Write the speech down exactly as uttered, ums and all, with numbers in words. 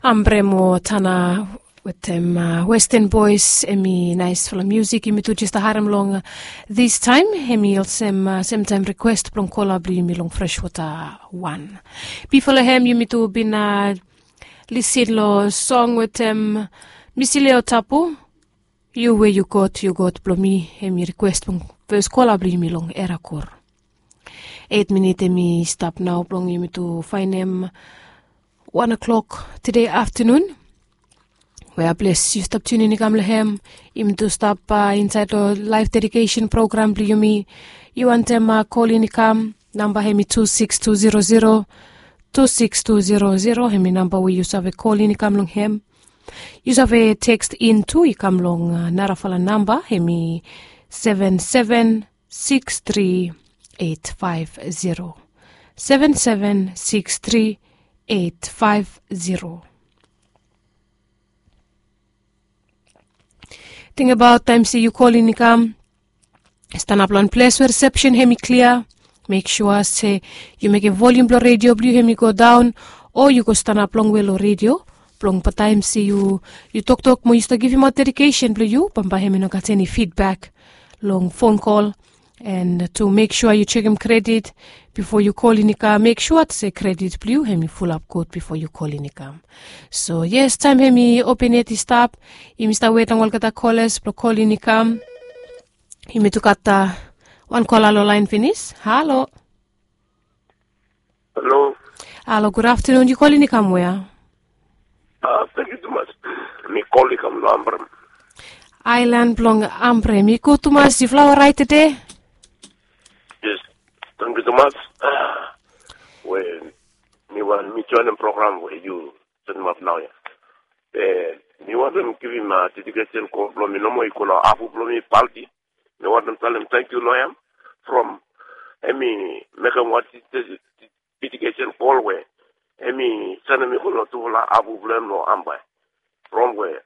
Ambre mo Tana wetem Western Boys, hemi naesfala musik yumi tu jes harem long this time. Hemi olsem semtaem request blong kola blong yumi long Freshwater One. Bifo long hem yumi tu bin lisin long song wetem Misileo Tapu, Yu we yu God, yu God blong mi. Hemi request blong fes kola blong yumi long Era Kor. Eit minit hemi stap nao blong yumi tu faenem wan o'clock tede aftanun. We a ples yu stap tiunin i kam long hem, yumi tu stap insaed long laef dedikesen program blong yumi. Yu wantem kolin i kam, namba hemi tu siks tu zero zero, tu siks tu zero zero, hemi namba we yu save kolin i kam long hem. Yu save teks in tu i kam long narafala namba, hemi seven seven six three eight five zero, seven seven six three eight five zero. Tingbaot taem se yu kolin i kam, stanap long wan ples we risepsen hemi klia. Mek sua se yu mekem volium blong redio blong yu hemi godaon, o yu go stanap longwe long redio, blong bataem se yu toktok mo yu stap givimaot dedikesen blong yu, bambae hemi no gat eni fidbak long fon kol. And tu mek sua yu sekem kredit bifo yu kolin i kam, mek sua se kredit blong yu hemi fulap gud bifo yu kolin i kam. So yes, taem hemi open yet i stap, yumi stap wet long olgeta kolas blong kolin i kam. Yumi tu gat wan kola long laen finis. Halo. Halo. Halo, gud aftanun. Yu kolin i kam wea? Tangkiu tumas. Mi kolin i kam long Ambrem. Aelan blong Ambrem i gud tumas. Yufala oraet tede? Yes. Tangkiu tumas. We mi wantem mi joenem program we yu setemap naoia. Be mi wantem givim dedikesen kol blong mi nomo i go long afu blong mi, Palti. Mi wantem talem tangkiu long hem from hemi mekem wan dedikesen kol we hemi sanem mi go long tufala afu blong hem long Ambae. From we